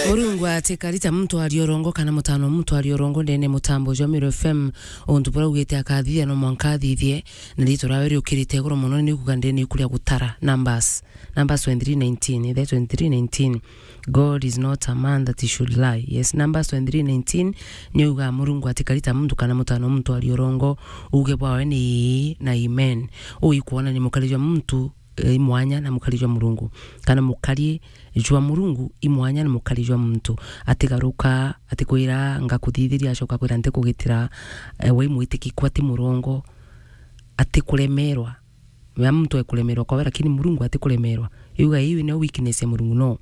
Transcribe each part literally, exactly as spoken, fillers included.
Murungu atikari ta muntu aria urongo kana mutano muntu aria urongo ndene mutambo jwa Meru F M. Untu buria ugite akathithia no mwanka athithie, na riitwa riawe riukirite iguru mono, ni kuuga ndene ikuria gutara. Numbers, Numbers twenty-three nineteen, ithe twenty-three nineteen. God is not a man that he should lie. Yes, Numbers twenty-three nineteen, ni uga Murungu atikari ta muntu kana mutano muntu aria urongo, uge bwawe ni ii na amen. Ui kuona ni mukari jwa muntu, eh, i mwanya na mukari jwa Murungu, kana mukari jwa Murungu i mwanya na mukari jwa muntu. Atigaruka, atikwira, "Ngakuthithiria," acoka kwira, "Ntikugitira." Eh, we mwitikiku ati murongo, atikuremerwa. Mea muntu ekuremerwa kwawe, lakini Murungu atikuremerwa. Yuga iu ni weakness ya Murungu, no.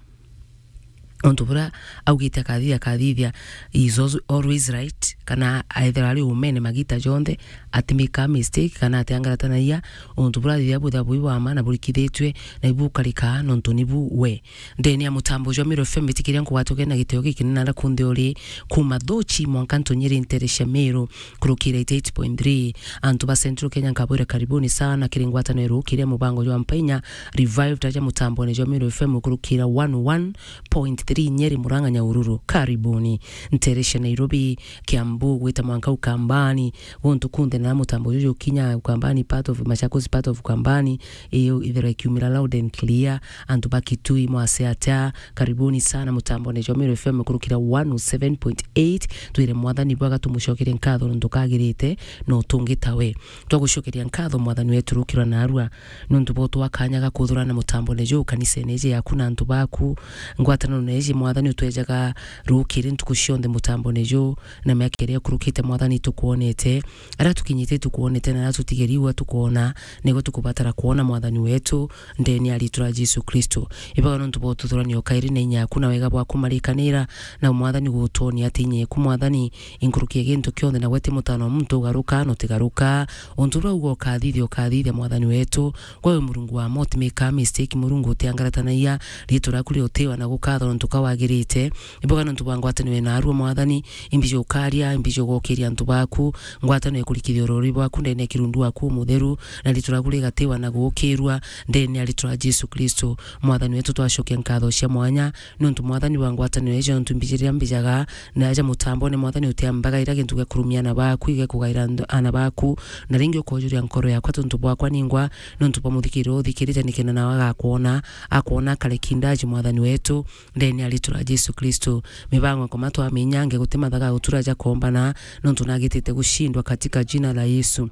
Untu buria augite akathithia, akathithia, he is also always right, kana aethirwa ari umene magita jonthe, ati make a mistake, kana atiangaratanagia, untu buria athithia bwithirwa bwi bwa ma na burikithitue, na ibu ukarika, nontu nibu we. Ndene ya mutambo jwa Meru F M, itikiria nkugwatuke na gitio gikinene na kunthi uri, kuma Thuchi mwanka Ntunyiri ntere cia Meru, kurukira eighty-eight point three. Antu ba Central Kenya nkabwira karibuni sana kiri ngwataniro irukiria mubango jwa Mpainya Revived aja mutambone jwa Meru F M kurukira one oh one point three Nyeri, Murang'a, Nyahururu. Karibuni. Ntere cia Nairobi, Kiambu, gwita mwanka Ukambani, guntu kunthe na mutambo juju kinya Ukambani, part of Machakos, part of Ukambani, iyo ithira ikiumira loud and clear. Antu ba Kitui, mwase atia? Karibuni sana mutambone jwa Meru F M kurukira one oh seven point eight. Twire Mwathani bwega, tumucokerie nkatho nontu kagirite no tungi tawe. Twagucokeria nkatho Mwathani wetu rukirwa narua nontu bwo twa kanya ga kuthurana mutambone juu kanisene iji yaku na antu baku. Ngwataniro na iji Mwathani utwejaga rukiri ntuku cionthe mutambone juu, na miaka iria ikurukite Mwathani tukwonete, aria tukinyite tukwonete, na aria tutigeri ua tukwona, niguo tukubatara kwona Mwathani wetu, ndene ya riitwa ria Jesu Kristo. Ibaga nontu bwa ututhuranio kairi na inya yaku na wega bwaku marikanira, na Mwathani gutwonia ati inya yaku Mwathani inkuruki ya gintu kionthe, na gwe ti mutano wa muntu ugaruka na utigaruka. Untu uria uga ukathithia, ukathithia Mwathani wetu. Gwe wi Murungu wa ma, utimika mistake, Murungu utiangaratanagia, riitwa riaku riutiwa na gukathwa nontu ka wagirite. Iboga nontu bwa ngwatanio ina arua Mwathani, imbiji ukaria, imbiji ugokiria antu baku, ngwatanio ikurikithia urori bwaku ndene ya kirundu waku umutheru, na riitwa riaku rigatiwa na gukirua ndene ya riitwa ria Jesu Kristo. Mwathani wetu, twacokia nkatho cia mwanya, nontu Mwathani wa ngwatanio iji, nontu mbiji riria mbijaga na aja mutambone, Mwathani utiambaga ira gintu gia kurumia ana baku, iga kugaira nd-, ana baku, na ringi ukojuria nkoro yakwa tontu bwakwa ningwa, nontu bwa muthikiriro uthikirite nikenda nawe agakwona, akwona akare kindaji Mwathani wetu, ndene ya riitwa ria Jesu Kristo. Mibango nkoma twaminya nge guti mathaga gutura jakombana, nontu nagitite gushindwa katika jina la Yesu.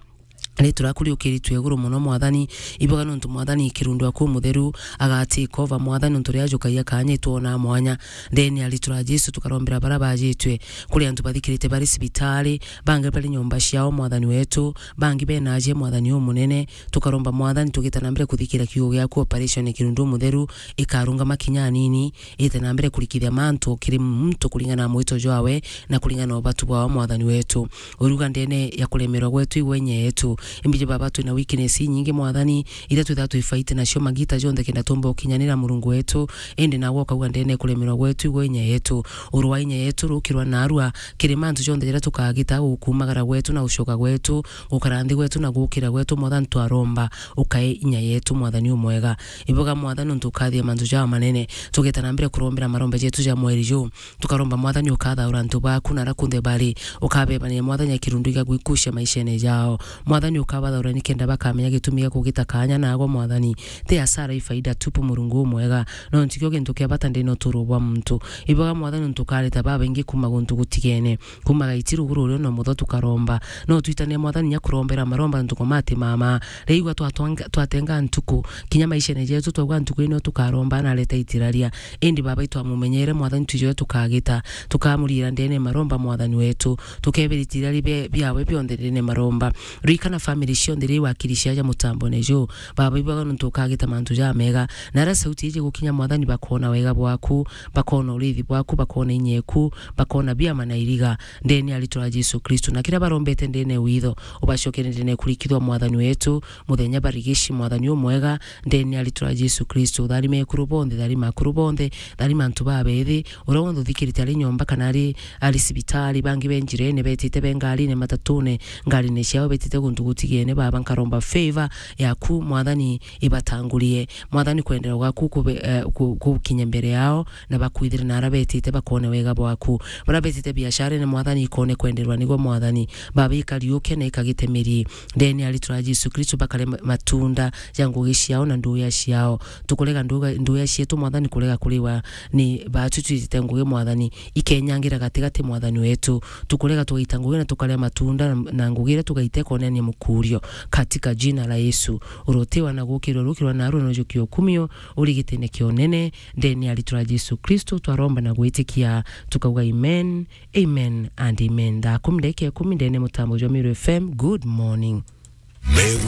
Riitwa riaku riukiritue iguru mono Mwathani, iboga nontu Mwathani kirundu aku mutheru agatikova Mwathani, nontu riria ajukagia kanya itwona mwanya. Ndene ya riitwa ria Jesu tukarombera baria bajitue, kuri antu bathikirite bari cibitari, bangi bari nyomba ciao Mwathani wetu, bangi bena aje Mwathani umunene, tukaromba Mwathani tugita na mbere kuthikira kiugo giaku, operation ya kirundu mutheru ikarungama kinya anini, ite na mbere kurikithia mantu kiri muntu kuringana na mwito jwawe na kuringana na ubatu bwawe Mwathani wetu. Uruga ndene ya kuremerwa gwetu igwe inya yetu. Imbiji Baba, twina weakness inyingi Mwathani, iria twithaga twifaite nacio magita jonthe kenda tumba ukinyanira Murungu wetu, indi nawe ukauga ndene ya kuremerwa gwetu igwe inya yetu. Urua inya yetu rukirwa narua kiri mantu jonthe jaria tukagita gukumagara gwetu na gucoka gwetu, gukara nthi gwetu na gukira gwetu Mwathani twaromba ukae inya yetu Mwathani umwega. Iboga Mwathani nontu ukathia mantu jaa manene. Tugeta na mbere kurombera maromba jetu ja mweri juu. Tukaromba Mwathani ukathaura antu baku na aria kunthe bari. Ukabebania Mwathani ya kirundu igagwikucia maishene jao. Mwathani ukabathaura nikenda bakamenya gitumi gia kugita kanya nagwa Mwathani. Ti hasara, i faida tupu Murungu umwega. No ntikio gintu kia bata ndene uturo bwa muntu. Iboga Mwathani nontu ukareta babaingi kuma guntu gutigene. Kuma gaiti ruguru urio no mutho tukaromba. No twitane Mwathani nya kurombera maromba ntuku mati mama. Riigua twatwanga-, twatenga ntuku, kinya maishene jetu twauga ntuku ino tukaromba na areta itiraria. Indi Baba itwamumenyere Mwathani twijoe tukagita, tukamurira ndene maromba Mwathani wetu. Tukebera itiraria bia-, biawe bionthe ndene maromba. Rikana family cionthe ri wakiri ciaja mutambone juu. Baba iboga nontu ukagita mantu jamega. Na aria sauti iji gukinya Mwathani bakona wega bwaku, bakona urithi bwaku, bakona inyeku, bakona biama na iriga. Ndene ya riitwa ria Jesu Kristo. Na kiria barombete ndene witho, ubacokere ndene kurikithwa Mwathani wetu, muthenya barigici Mwathani umwega, ndene ya riitwa ria Jesu Kristo. Tharima ekuru bonthe, tharima akuru bonthe, tharima antu babethi, uria wonthe uthikirite ari nyomba kana ari, ari cibitari, bangi be njirene, betite be ngarine, matatune, ngarine ciao betite guntu Utigene, Baba, nkaromba favor yaku, Mwathani, ibatangurie. Mwathani, kwenderwa gwaku kube-, eh, ku-, gukinya mbere yao, na bakwithire na ara betite bakone wega bwaku. Bara betite biasharene, Mwathani, ikone kwenderwa nigwe, Mwathani. Baba, ikariuke na ikagite miri. Ndene ya ritwa ria Jesu Kristo, bakare ma-, matunda ja ngugi ciao na nduya ciao. Tukurega nduga-, nduya cietu, Mwathani, kurega kuriwa ni baatu twitite ngugi, Mwathani, ikenyangira gatigati, Mwathani wetu. Tukurega tugaita ngugi na tukaria matunda na, na ngugi iria tugaite konania mukurio. Katika jina la Yesu, urutiwa na gukirwa, rukirwa na arua na ujukia ukumio, urigitine kionene, ndene ya ritwa ria Jesu Kristo, twaromba na gwitikia, tukauga amen, amen and amen. Thaa kumi ndagika ikumi ndene mutambo jwa Meru F M. Good morning. Meru